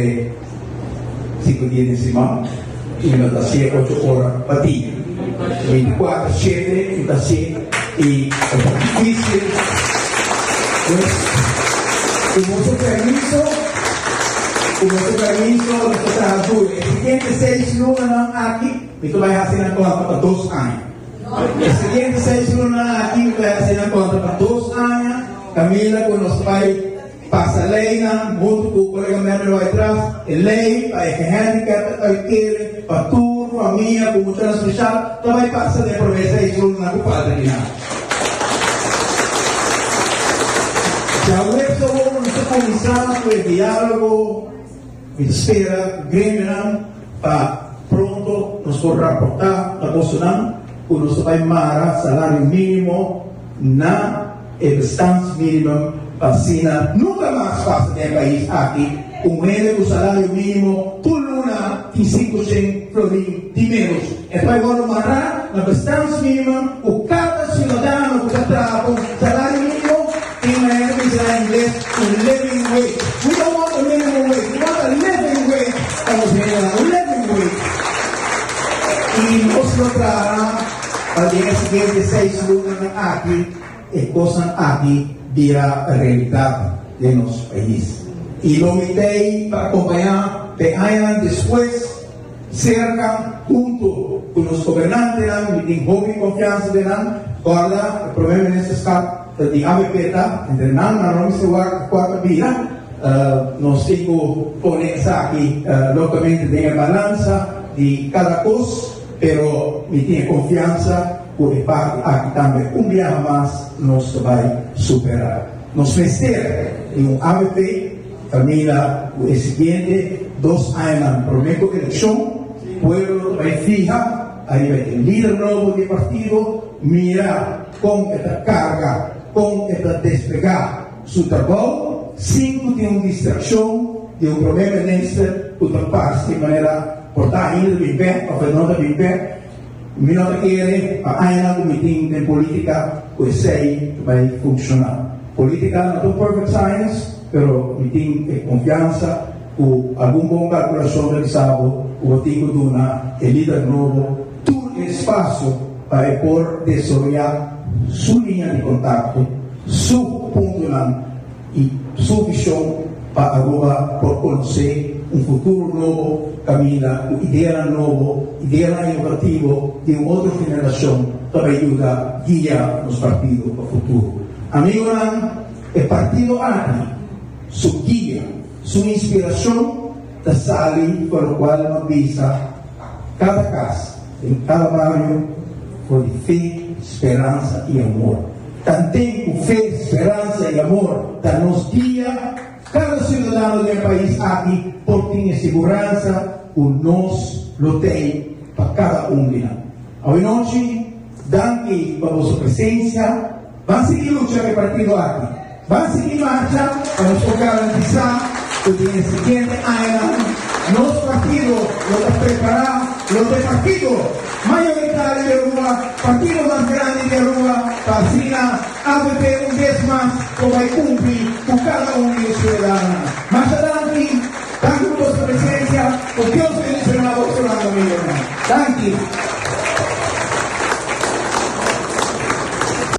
Sinku dia den siman i mi no ta hasié ocho ora pa dia. Bintikuater shete mi ta hasié i e ta difísil. Pues, ku boso permiso, ku boso permiso nos ta traha duru. E siguiente seis lunanan aki mi ta bai hasi nan konta pa dos aña. E siguiente seis lunanan aki mi ta bai hasi nan konta pa dos aña, kaminda ku nos ta bai. Pasa leynan hunto cu colega Mervin White-Ras, e ley pa e gehandicapten uitkering pa tur famia cu muchanan special ta bay pasa den prome seis lunanan cu falta di nan. Djaweps awor nos ta cuminsa cu e dialogo, mi ta spera cu gremionan pa pronto nos por raporta na bosonan cu nos ta bay mara salario minimo na E bestaansminimum pa asina nunca mas pasa den e pais aki un hende cu salario minimo tur luna tin 500 florin di menos. E ta bay wordo mara na bestaansminimum cu cada ciudadano cu ta traha pa un salario minimo tin manera cu bisa na ingles un living wage. We don't want a minimum wage, we want a living wage pa nos hendenan, un living wage. Y nos lo traha pa den e siguiente seis lunanan aki. E kosnan aki bira realidat den nos pais. I lo mi t'ei pa akompañá p'e añanan despues serka huntu ku nos gobernantenan. Mi tin hopi konfiansa den nan. Kòrda, e promé ministerskap ta di avp ta entre nan, nan no mester wak kua ta bira. Nos tin ku pone esaki logamente den e balansa di kada kos. Pero mi tin e konfiansa ku e parti aki tambe un biaha mas nos ta bai superá. Nos mester di un avp kaminda ku e siguiente dos añanan promé ku elekshon, pueblo ta bai fiha ariba e lider nobo di e partido, mira kon e ta karga, kon e ta desplegá su trabou sin ku tin un distrakshon di un promé minister ku ta parse manera por ta ainda ta bin bek òf e no ta bin bek. Mi no ta kere pa añanan ku mi tin den polítika ku esei ta bai funshoná. Polítika no ta un perfect science, pero mi tin e konfiansa ku algun bon kalkulashon ta bisa bo ku bo tin ku duna e lider nobo tur e espasio pa e por desaroyá su liña di kontakto, su puntonan i su vishon pa Aruba por konosé un futuro nobo kaminda ku ideanan nobo, ideanan inovativo di un otro generashon ta bai yuda guia nos partido pa futuro. Amigonan, e partido aki su guia, su inspirashon ta sali for lokual no bisa kada kas, den kada bario for di fe, speransa i amor. Tanten ku fe, speransa i amor ta nos guia, kada siudadano den e pais aki por tin e siguransa ku nos lo tei pa kada un di nan. Awenochi, danki pa boso presensia. Ban sigui lucha pa e partido aki. Ban sigui marcha pa nos por garantisa cu den e siguiente añanan nos partido lo ta prepara, lo ta e partido mayoritario di Aruba, partido mas grandi di Aruba, pa asina avp un bes mas por bay cumpli cu cada un di nos ciudadanonan. Masha danki, danki pa boso presencia, cu Dios bendiciona bosonan amigonan. Danki.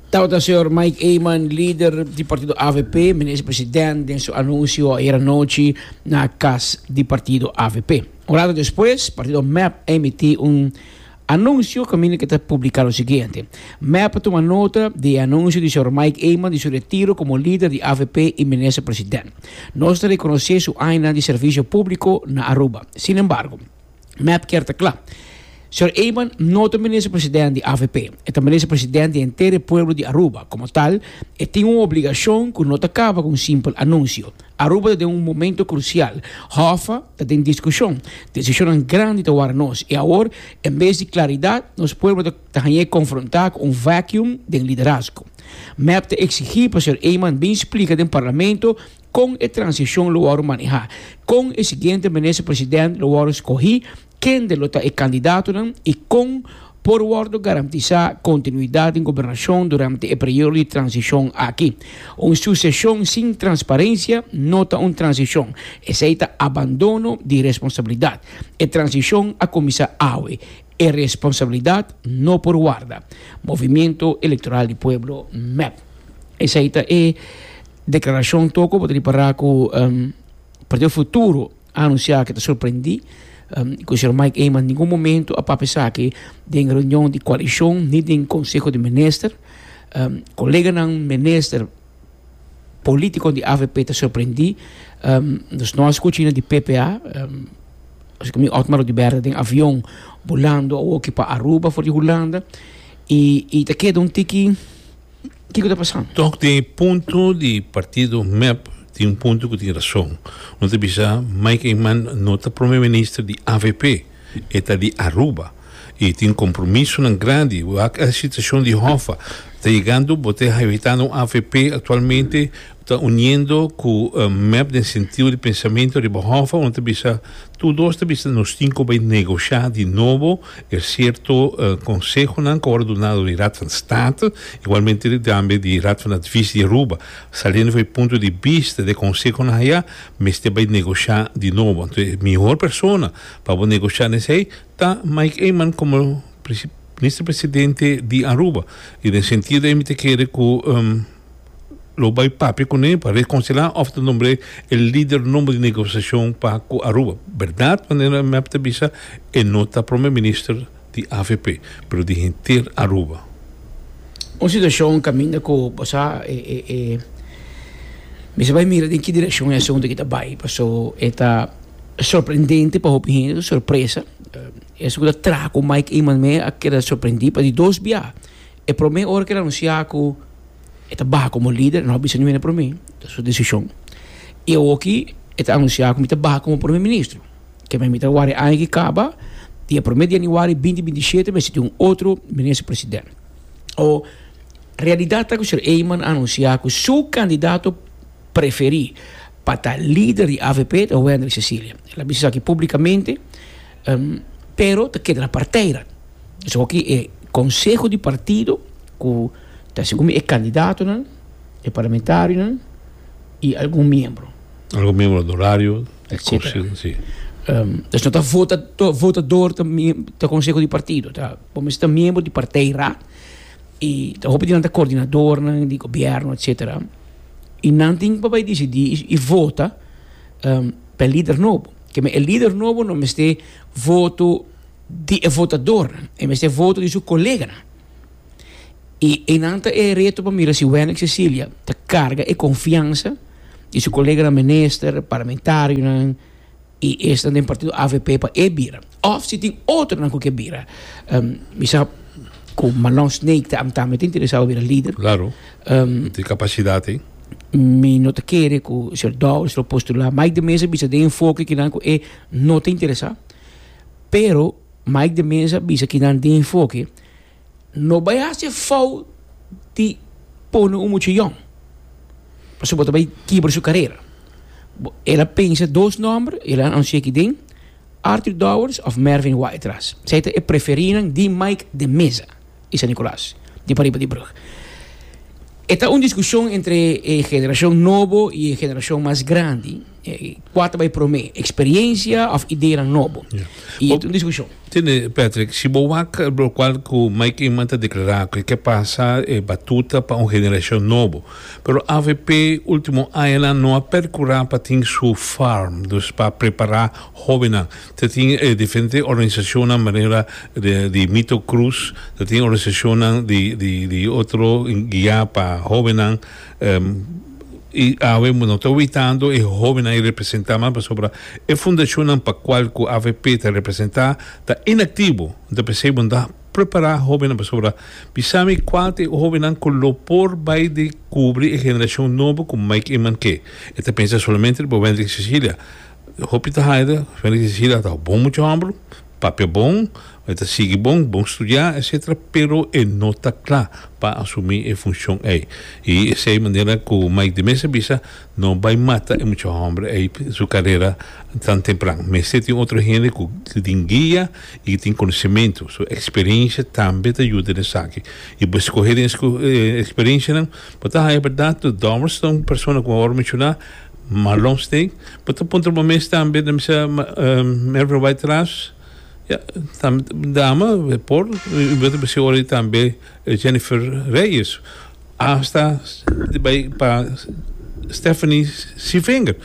Tabata señor Mike Eman, lider di partido avp, minister president den su anuncio ayer anochi na cas di partido avp. Un rato despues, partido mep a emiti un anuncio caminda cu ta publica lo siguiente, mep a tuma nota di e anuncio di señor Mike Eman di su retiro como lider di avp y minister president. Nos ta reconoce su añanan di servicio publico na Aruba. Sin embargo, Mep kier ta kla. Señor Eman no ta minister president di avp. E ta minister president di henter e pueblo di Aruba. Como tal, e tin un obligacion cu no ta caba cu un simpel anuncio. Aruba ta den un momento crucial. Hoffa ta den discusion. Decisionnan grandi ta wara nos. Y awor, en bes di claridad, nos pueblo ta ta hañ'é confronta cu un vacuum den liderazgo. Mep ta exigi pa señor Eman bin splica den Parlamento Kon e transishon lo wòrdu manehá? Kon e siguiente minister president lo wòrdu skohí? Kende lo ta e kandidatonan? I kon por wòrdu garantisá kontinuidat den gobernashon durante e periodo di transishon aki? Un suseshon sin transparensia no ta un transishon. Esei ta abandono di responsabilidat. E transishon a kuminsá awe. E responsabilidat no por warda. Movimiento Electoral di Pueblo, mep. Esei ta e Declaracion toko bo ta ripara cu Partido Futuro a anuncia cu ta sorprendi cu señor Mike Eman ningun momento a papia esaki den reunion di coalicion ni den conseho di minister. Coleganan minister politico di avp ta sorprendi. Nos no a scucha hende di PPA. Mi Otmar Oduber ta den avion bulando awoki pa Aruba for di Hulanda y ta keda un tiki. Kiko ta pasando? Tok den e punto di partido mep tin un punto ku tin rason. No ta bisa Mike Eman no ta prome minister di avp, e ta di Aruba y tin compromisonan grandi. Wak e situacion di Hoffa ta yegando bo ta evitando un avp actualmente ta uniendo ku mep den sentido di pensamento riba Hoffa. Uno ta bisa tur dos ta bisa nos tin ku bay negosha di nobo. E cierto consehonan cu a worde duna di Raad van State, igualmente tambe di Raad van Advies di Aruba. Saliendo for e punto di bista di e consehonan aya, mester bay negocia di nobo. Anto e mihor persona pa bo negocia nesey ta Mike Eman como Minister Presidente di Aruba. Y den sentido ey mi ta kere cu. Lo bai papia kuné pa rekonsilá òf ta nombr'é e lider nobo di negosiashon pa ku Aruba. Bèrdat, manera mep ta bisa, e no ta prome minister di avp, pero di henter Aruba. Un situashon kaminda ku bo sa e e e mester bai mira den ki direkshon e asuntu aki ta bai, paso e ta sorprendente pa hopi hende, ta sorpresa. Esun ku ta traha ku Mike Eman me a keda sorprendí pa di dos bia. E promé ora ku el a anunsiá ku e ta baha komo lider, no a bisa niun hende promé, ta su desishon. I awoki e ta anunsiá ku mi ta baha komo promé ministro. Ke mi ta wari aña ki kaba, di e promé di yanüari binti 27 mester tin un otro minister president. O realidat ta ku señor Eman a anunsiá ku su kandidato preferí pa ta lider di avp ta Wendrick Cecilia. El a bisa esaki públikamente, pero ta keda na partijraad. Dus awoki e konseho di partido ku ta segun mi e kandidatonan, e parlamentarionan i algun miembro. Algun miembro honorario. Etcetera. Dus no ta vota votador ta ta konseho di partido, ta bo mester ta miembro di partijraad i ta hopi di nan ta koordinadornan di gobièrnu etcetera i nan tin pa bai disidí i vota pa e lider nobo. Ke men e lider nobo no mester voto di e votadornan, e mester voto di su koleganan. I einan ta e reto pa mira si Wendrick Cecilia ta karga e konfiansa di su koleganan minister, parlamentarionan i esnan den partido avp pa e bira. Òf si tin otronan ku ke bira. Mi sa ku Marlon Sneek ta tambe ta interesá pa bira lider. Klaro. E tin kapasidat ei. Mi no ta kere ku señor Dowers lo postulá. Mike de Meza bisa den enfoke kinan ku e no ta interesá. Pero Mike de Meza bisa kinan den enfoke No bai hasi e fout di pone un mucha yòn, pasobra bo ta bai kibra su karera. El a pensa dos nòmber, el a anunsia aki den, Arthur Dowers òf Mervin Whiteras. Esei ta e preferinan di Mike de Meza i San Nicolas, di pariba di brug. E ta un diskushon entre e generashon nobo i e generashon mas grandi. Kua ta bai promé, eksperiencia òf ideanan nobo? I e ta un diskushon. Tende, Patrick, si bo wak lokual ku Mike Eman ta deklará ku e ke pasa e batuta pa un generashon nobo. Pero avp último añanan no a perkurá pa tin su farm, dus pa prepará hóbennan. Ta tin e diferente organisashonnan manera di Mito Cruz, ta tin organisashonnan di di di otro guiá pa hóbennan. I awe no ta witando e hobennan i representá mas pasobra e fundashonnan pa kual ku avp ta representá ta inaktivo. N ta p'esei bo no ta prepará hobennan pasobra bisa mi kual ta e hobennan ku lo por bai di kubri e generashon nobo ku Mike Eman ke. E ta pensa solamente riba Wendrick Cecilia. Hopi ta haida Wendrick Cecilia ta bon mucha hòmber, papia bon, e ta sigui bon, bon studiá etcetera pero e no ta kla pa asumí e funshon ei. I esei manera ku Mike de Meza bisa no bai mata e mucha hòmber ei su karera tan tempran. Mester tin otro hende ku tin guia i ku tin konosementu. Su eksperensia tambe ta yuda den esaki. I bo skohe den e eksperensianan bo ta haña bèrdat ku Dowers ta un persona ku awor menshoná, Marlon Steek. Bo ta puntra bo mes tambe, nan bisa Mervin White-Ras. Ya, tambe dama e por, y bo ta bisa ora tambe Jennifer Reyes, hasta bay pa Stephanie Sievinger.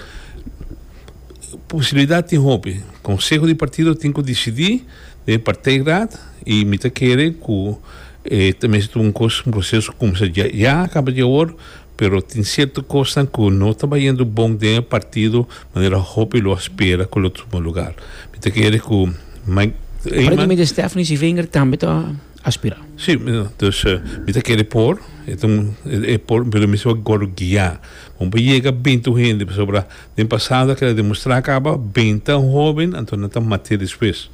Posibilidad tin hopi. Conseho di partido tin cu dicidi den partijraad y mi ta kere cu e ta mester un cos, un proceso cu cuminsa ya caba di awor. Pero tin cierto cosnan cu no ta bayendo bon den e partido manera hopi lo a spera cu lo tuma lugar. Mi ta kere cu Mike Eman. Aparentemente Stephanie Sievinger tambe ta aspira. Si, dus mi ta kere por, e ta un, e por, pero mi mester wak guia. Bo por yega binti un hende pasobra den pasado a keda demostra caba binta un hoben anto nan ta mate despues.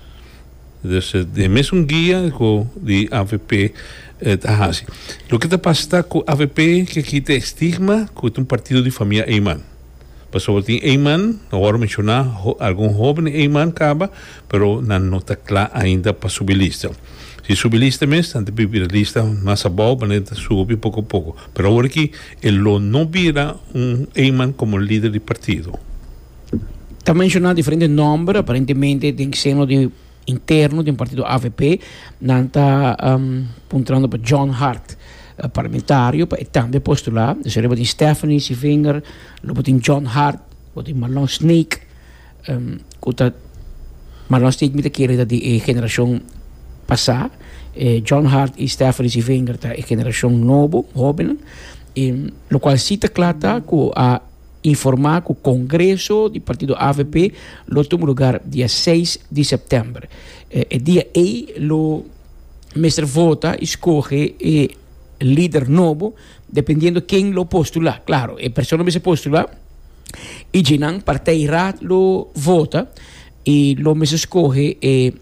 Dus e mesun guia ku di avp ta hasi. Loke ta pasa ta ku avp ke kita e stigma ku ta un partido di famia Eman. Pasobra tin Eman, awor menshoná algun hoben Eman kaba, pero nan no ta kla ainda pa subi lista. Si subi lista mes, nan ta bira lista mas abou, manera ta subi poko poko. Pero awor aki e lo no bira un Eman komo lider di partido. Ta menshoná diferente nòmber, aparentemente den seno di interno den partido avp nan ta puntrando pa John Hart, parlamentario, pa e tambe postulá. Dus lo bo tin Stephanie Sievinger, lo bo tin John Hart, bo tin Marlon Sneek, ku ta Marlon Sneek mi ta kere ta di e generashon pasá, John Hart i Stephanie Sievinger ta e generashon nobo, hóbennan, i lokual si ta kla ta ku a. informa cu congreso di partido avp lo tuma lugar dia seis di september. E dia ey lo mester vota y scoge e lider nobo dependiendo ken lo postula. Claro, e persona mester postula y dje-nan partijraad lo vota y lo mester scoge e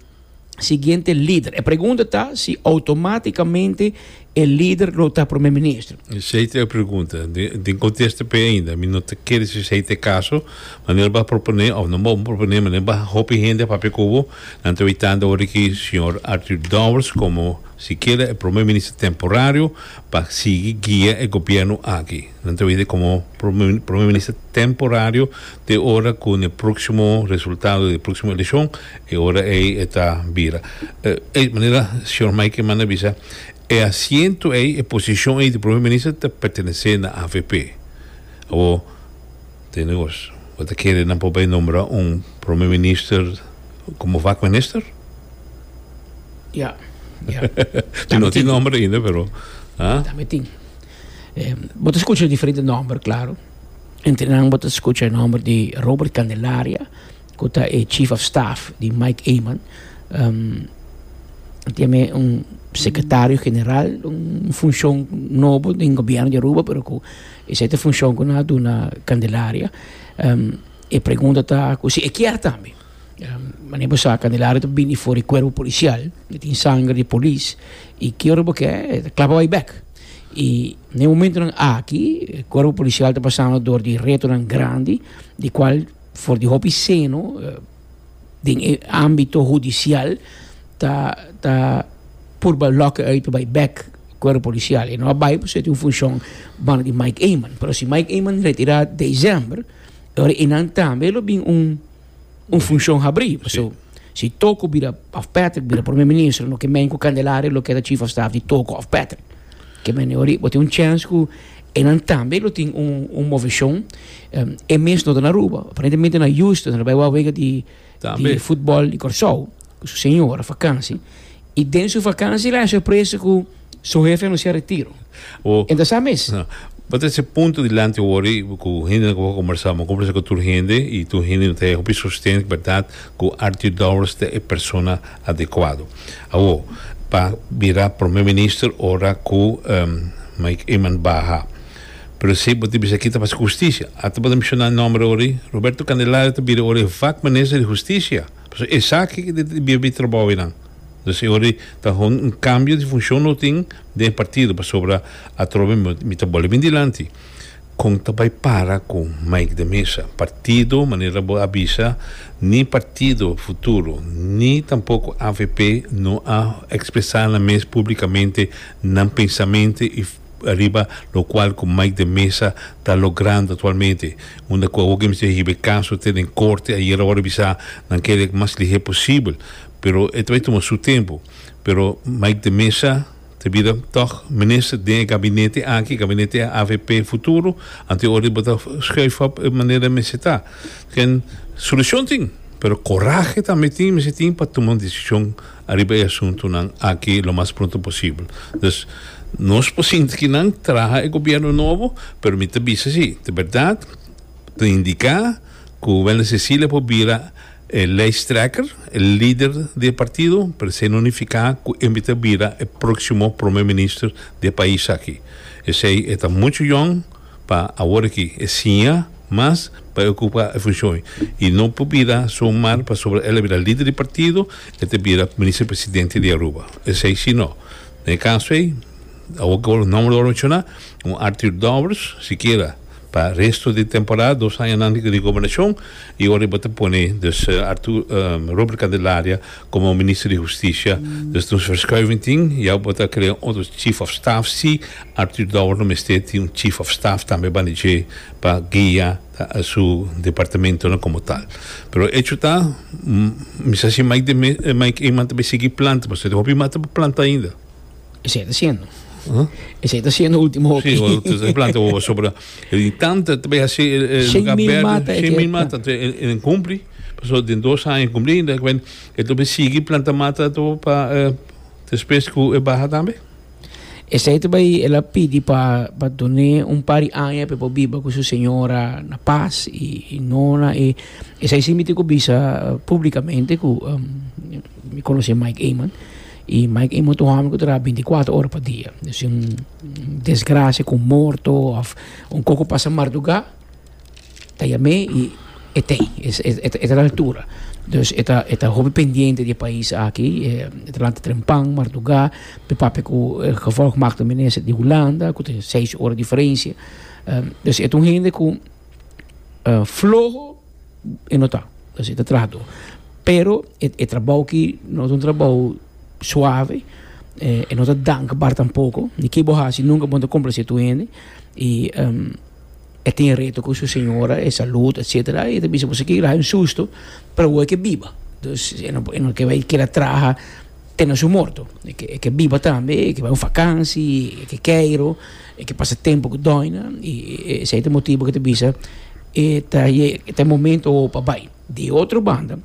siguiente lider. E pregunta ta si automaticamente e lider lo ta prome minister. Esey ta e pregunta. Den contesta p'e ainda. Mi no ta kere si esey ta e caso. Manera bo a propone of no bo propone, manera bo hopi hende a papia cu bo, nan ta witando ora ki señor Arthur Dowers como sikiera e prome minister temporario pa sigui guia e gobierno aki. Nan ta wita como prome minister temporario te ora cu n'e proximo resultado di e proximo eleccion E ora ei e ta bira. E manera señor Mike Eman a bisa, e asiento ei, e posicion ei di Prome Minister ta pertenece na avp. Awor, tende cos, bo ta kere nan por bay nombra un Prome Minister como vakminister? Ja, ja. Ti no tin nomber ainda, pero, ah? Tambe tin. Bo ta scucha diferente nomber, claro. Entre nan bo ta scucha e nomber di Robert Candelaria. Cu ta e Chief of Staff di Mike Eman. Tiene un secretario general, un funcion nobo den gobierno di Aruba, pero cu esey ta e funcion cu nan a duna Candelaria. E pregunta ta cu si e kier tambe. Manera bo sa Candelaria ta bini for di cuerpo policial, e tin sanger di polis y ki ora bo ke e ta klapa bay bek. Y na e momentonan aki e cuerpo policial ta pasando door di retonan grandi di cual For di hopi seno den e ámbito hudisial ta ta purba lòk e uit pa bai bèk kuerpo polisial. E no a bai pasobra e tin un funshon banda di Mike Eman. Pero si Mike Eman retirá desèmber, e ora einan tambe lo bin un un funshon habrí. Pasobra si Toko bira òf Patrick bira prome minister no ke men ku Candelaria lo keda chief of staff di Toko òf Patrick. Ke men e ora bo tin un chèns ku Einan tambe lo tin un un moveshon. E mes no ta na Aruba, aparentemente na Houston, el a bai wak wega di di futbòl di Kòrsou ku su señora fakansi. I den su fakansi el a haña sorpresa ku su hefe a anunsiá retiro. E ta sa mes. Bo ta ese punto dilanti awor i ku hendenan ku bo a kombersá. Bo a kombersá ku tur hende i tur hende no ta hopi sosten bèrdat ku Arthur Dowers ta e persona adekuado. Awor, pa bira Prome Minister ora ku Mike Eman baha. Pero si bo ta bisa aki ta pasa ku hustisia. Ata bo ta menshoná nomber ori, Roberto Candelario ta bira ora e vakminister di hustisia. Pasobra esaki ta bira bi trabou einan. Dus e ora ta un kambio di funshon lo tin den e partido pasobra atrobe mi ta bolbe bin dilanti. Kon ta bai para ku Mike de Meza? Partido, manera bo a bisa, ni Partido Futuro ni tampoko avp no a ekspresá nan mes públikamente nan pensamente i riba lokual ku Mike de Meza ta logrando aktualmente. Unda ku awor ke mester hiba e kaso te den korte, ayera ora bisa nan kere mas lihé posibel, pero e ta bai tuma su tempu. Pero Mike de Meza. Ta bira tòg minister den e gabinete aki, gabinete avp Futuro, anto e ora bo ta schuif op e manera mester ta. Ken solucion tin, pero corahe tambe tin, mester tin pa tuma un decision ariba e asuntonan aki lo mas pronto posibel. Dus nos por sinti ki nan traha e gobierno nobo, pero mi ta bisa si, ta berdad ta indica cu Wendel Cecilia por bira E lijsttrekker, e lider di e partido, pero esei no nifiká ku e mester bira e próksimo prome minister di e pais aki. Esei e ta muchu yòn pa awor aki e siña mas pa e okupá e funshon i no por bira somar pasobra el a bira lider di partido e ta bira minister presidente di Aruba. Esei si no. Den e kaso ei, awor ku nòmber lo menshoná, un Arthur Dowers sikiera. Pa resto di temporada, dos añanan di gobernacion y ora bo ta pone dus Arthur Robert Candelaria como minister di husticia, dus nos verschuiving tin, ya bo ta crea otro chief of staff si Arthur Dowers no mester tin un chief of staff tambe banda dje pa guia su departamentonan como tal. Pero hecho ta, mi sa si Mike de Mike Eman ta bay sigui planta, pasobra hopi mata pa planta ainda. Esei ta siendo. Esei ta siendo ultimo hopi. Sí, o planta o sobra. E tanta te bay hasi lugar berde. 100.000 mata. En cumpli. Paso den dos aña cumpli. E to bay sigui planta mata to pa despues cu e baha tambe. Esei ta bai el a pidi pa pa dun'é un par di aña pa e por biba ku su señora na pas i no na e esei si mi tin ku bisa publikamente ku mi konosé Mike Eman i Mike Eman ta un hòmber ku traha binti kuater ora pa dia si un desgrasia ku un morto òf un kos ku pasa mardugá ta yam'é i e t'ei e ta na altura dus e ta e ta hopi pendiente di e pais aki e ta lanta trempan mardugá pa e papia ku e gevolgmaakte minister di Hulanda ku ta seis ora diferensia dus e ta un hende ku floho e no ta dus e ta trahadó pero e trabou aki no ta un trabou suave e no ta dankbaar tampoko ni ke bo hasi nunka bo no ta komplase tur hende i. E tin reto cu su señora, e salud, etcetera, y e ta bisa boso ke hay un susto, pero awor e ke biba. Dus e no e no ke bay keda traha te na su morto. E ke e ke biba tambe, e ke bay un vakansi, e ke keiro, e ke pasa tempo cu doina, y esey ta e motibo cu e ta bisa e ta e ta e momento awor pa bay. Di otro banda,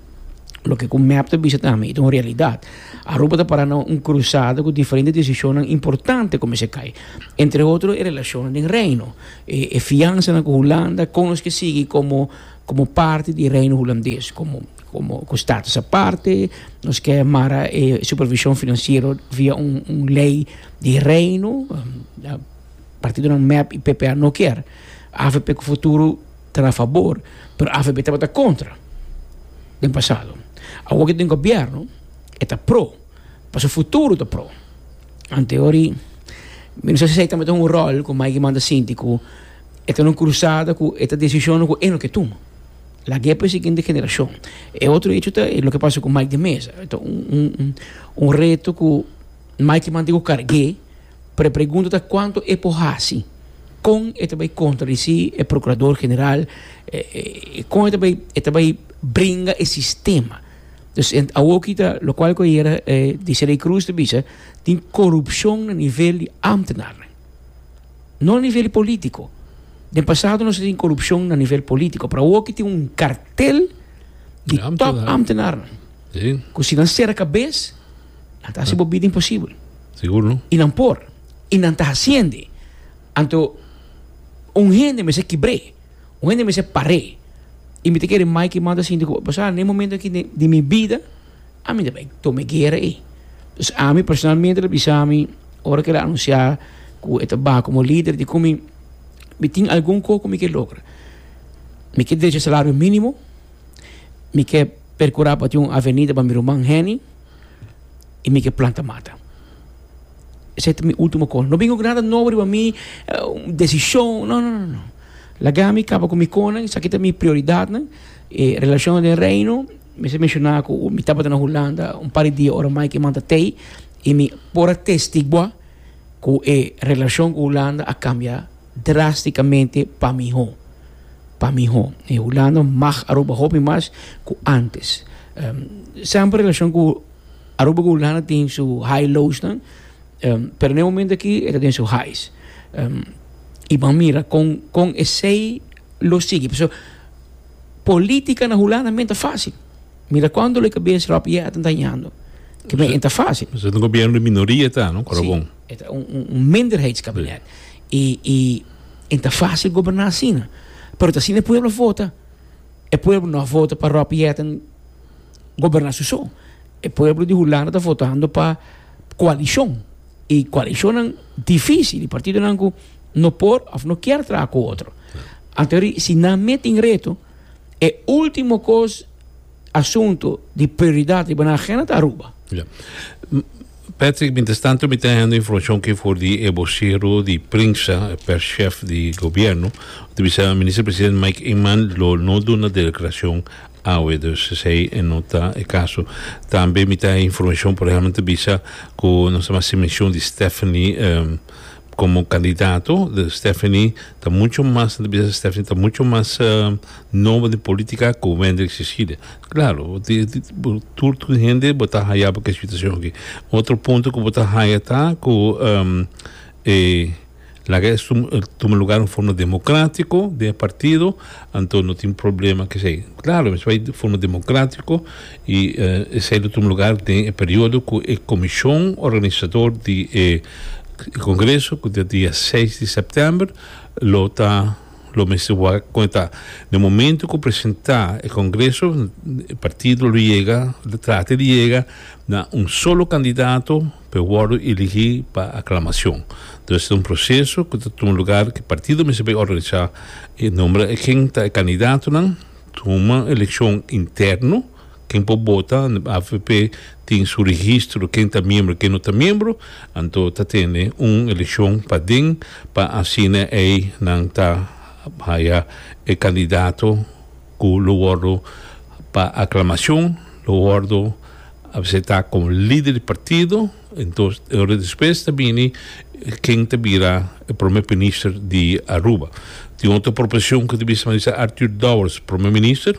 loke cu mep ta bisa tambe y ta un realidad, Aruba ta para na un cruzada cu diferente decisionnan importante cu mester cay. Entre otro e relacionnan den Reino, e fiansanan cu Hulanda, con nos ke sigui como como parti di Reino Hulandes, como como cu status aparte, nos ke mara e supervision financiero via un un ley di Reino, partidonan mep y PPA no kier, avp cu Futuro ta na fabor, pero avp tabata contra den pasado. Awor cu den gobierno e ta pro, pasobra Futuro ta pro. Anteori, mi no sa si esei tambe ta un ròl ku Mike manda sinti ku e ta na un krusada ku e ta desishonnan ku e no ke tuma. Lag'é pa e siguiente generashon. E otro hecho ta loke pasa ku Mike de Meza. E ta un un reto ku Mike manda ku karg'é, pero e pregunta ta kuantu e por hasi? Kon e ta bai kontradisí e prokurador general? Kon e ta bai e ta bai bringa e sistema? Dus en awoki ta lokual ku ayera Desiree Cruz ta bisa tin korupshon na nivel di ámtenarnan. No na nivel di polítiko. Den pasado nos a tin korupshon na nivel polítiko, pero awoki tin un kartel di tòp ámtenarnan. Ku si nan sera kabes, nan ta hasi bo bida imposibel. Sigur no. I nan por. I nan ta hasiende. Anto un hende mester kibr'é. Un hende mester par'é. I mi ta kere Mike manda sinti ku pasá na e momento aki di mi bida ami ta bai tuma e guera ei. Dus ami personalmente ta bisa mi ora ku el a anunsiá ku e ta baha komo lider di ku mi mi tin algun kos ku mi ke logra. Mi ke drecha salario mínimo, mi ke perkurá pa tin un avenida pa mi ruman Henny i mi ke planta mata. Esei ta mi último kos. No bin ku nada nobo riba mi, un desishon, no no no no. Laga mi kaba ku mi konan, esaki ta mi prioridatnan. E relashon den Reino, mester menshoná ku mi tabata na Hulanda un par di dia ora Mike e manda tei i mi por a testiguá ku e relashon ku Hulanda a kambia drástikamente pa mihó, pa mihó. E Hulanda mag Aruba hopi mas ku ántes. Semper relashon ku Aruba ku Hulanda tin su high lowsnan. Pero na e momento aki e ta den su highs. I ban mira kon kon esei lo sigui. Pasobra politica na Hulanda men ta facil. Mira cuando lo e cabes Rob Jetten ta hañando. Ke men e ta facil. Pasobra ta un gobierno di minoria ta, no? Kora bon. Si, e ta un un minderheidskabinet. I i e ta facil goberna asina. Pero ta asina e pueblo a vota. E pueblo no a vota pa Rob Jetten goberna su so. E pueblo di Hulanda ta votando pa koalishon i koalishonnan difísil i partidonan ku no por òf no kier traha ku otro. Anto si nan mete in reto e último kos asunto di prioridat riba nan agenda ta Aruba. Ya. Patrick, mientras tanto mi ta hendo informacion ki for di e vocero di prensa, e perschef di gobierno, ta bisa Minister President Mike Eman lo no duna declaracion Awe, dus esei e no ta e kaso. Tambe mi ta informashon, por ehèmpel, ta bisa ku nos ta hasi menshon di Stephanie komo kandidato. De Stephanie ta mucho mas, ta bisa Stephanie ta mucho mas nobo den politika ku Wendrick Cecilia. Klaro, tur tur hende bo ta haya bo ku e situashon aki. Otro punto ku bo ta haya ta ku e. Laga es tuma lugar un forma democratico den e partido, anto no tin problema cu esey. Claro, mester bay di forma democratico y esey lo tuma lugar den e periodo cu e comision organisador di e. E congreso cu ta dia seis di september lo ta lo mester wak con e ta. Den momento cu presenta e congreso e partido lo yega lo trata di yega na un solo candidato pa e wordo eligi pa aclamacion. Entonces ta un proceso cu ta tuma lugar cu e partido mester bay organisa e nombra e ken ta e candidatonan, tuma eleccion interno. Ken por bota, avp tin su registro ken ta miembro ken no ta miembro, anto ta tene un eleccion paden pa asina ey nan ta haya e candidato cu lo wordo pa aclamacion, lo wordo acepta como lider di partido, entos e ora despues ta bini ken ta bira e prome minister di Aruba. Tin otro proposicion cu ta bisa manera Arthur Dowers prome minister.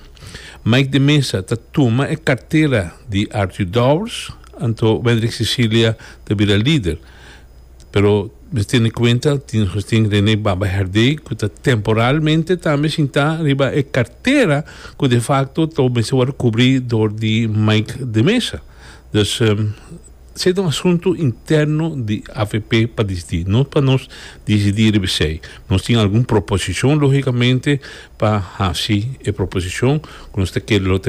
Mike de Meza ta tuma e kartera di Arthur Dowers, anto Wendrick Cecilia ta bira lider. Pero mester tene kuenta tin nos tin Rene Baba Herdé ku ta temporalmente tambe sintá riba e kartera ku de facto ta mester wòrdu kubrí dor di Mike de Meza. Dus esei ta un asuntu interno di avp pa disidí, no pa nos disidí riba esei. Nos tin algun proposishon lógikamente pa hasi e proposishon ku nos ta kere lo ta.